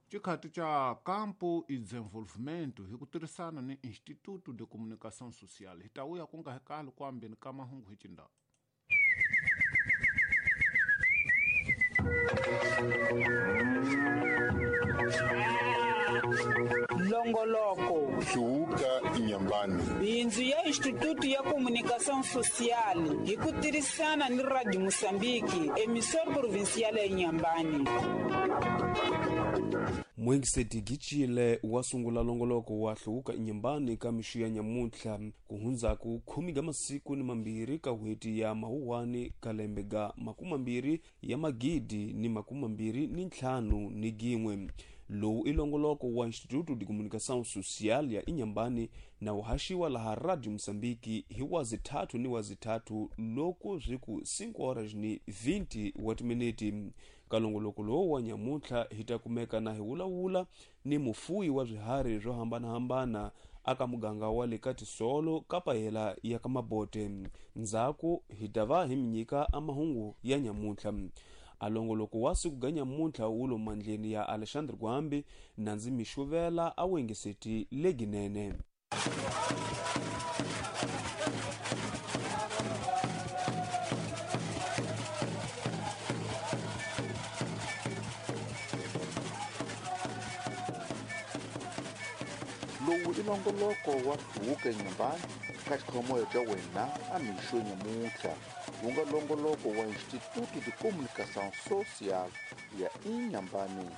Xikhati xa Campo e Desenvolvimento hi ku tirhisana ni Instituto de Comunicação Social. Hi ta vuya ku nga hi kali ku ambeni ka mahungu hi Cindau. Longoloko Hluvuka Inyambani. Bindzu ya Instituto ya Comunicação Social hi ku tirhisana ni Radio Moçambique, emissora provincial ya Inhambane. Muengiseti Gicile wa sungula longoloko wa Hluvuka Inyambani ka mixo ya nyamuntlha ku hundzaku khume ga masiku ni mambirhi ka n'hweti ya Mawuwani ka lembe ga makumambirhi ya magidi ni makumambirhi ni ntlhanu ni gin'we. Lowu i longoloko wa Instituto de Comunicação Social ya Inhambane na wu haxiwa laha Radio Moçambique hi wazithathu ni wazithathu loko swi ku 5 horas ni 20 wa timiniti. Ka longoloko lowu wa nyamuntlha hi ta kumeka na hi vulavula ni mufuyi wa swiharhi swo hambanahambana aka muganga wa le ka Tisolo ka pahela ya ka Mabote. Ndzhaku hi ta va hi mi nyika a mahungu ya nyamuntlha. A longoloko wa siku ga nyamuntlha wu lo mandleni ya Alexandre Gwambi na ndzi mi xuvela a wengiseti leginene. Lowu i nongoloko wa Hluvuka Inyambani ka xikhomoya xa wena a mixo nyamuntlha wu nga longoloko wa Instituto de Comunicação Social ya Inhambane.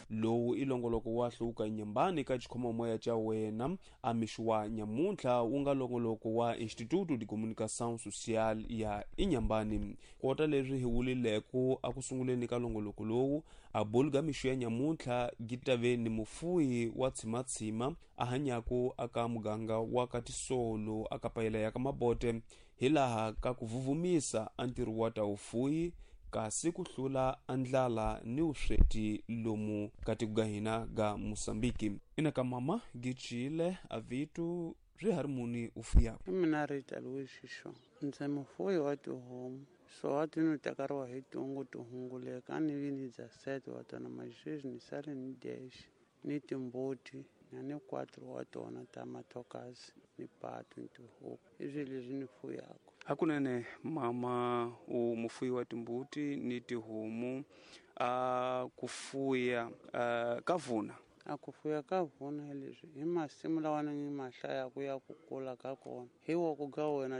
Lowu i longoloko wa Hluvuka Inyambani ka xikhomomoya xa wena a mixo wa nyamuntlha wu nga longoloko wa Instituto de Comunicação Social ya Inhambane. Kota leswi hi vulileko a ku sunguleni ka longoloko lowu a bulu ga mixo ya nyamuntlha gi ta ve ni mufuyi wa tshimatshima a hanyaku aka muganga wa ka Tisolo aka payela ya ka Mabote hi laha ka ku vuvumisa a ntirho wa ta vufuyi kasi ku hlula a ndlala ni vusweti lomu ka tiko ga hina ga Mosambiki. Ina ka mama Gicile a vitu swi hari muni u fuyaka. I mina Rita Louis Xixo, ndzi mufuyi wa tihomu. So wa ti ni tekariwa hi tungu ti hunguleka a ni vi ni dya sete wa tona maxexi ni sale ni dexe ni timbuti na ni 4 wa tona ta mathokazi ni patu ni tihuku. I swilo leswi ni fuyaka. Hakunene mama u mufuyi wa timbuti ni tihomu a ku fuya ka vuna. A ku fuya ka vuna hi leswi hi masimu lawa ni ma hlayaka ya ku kula ka kona hi wa ku ga wena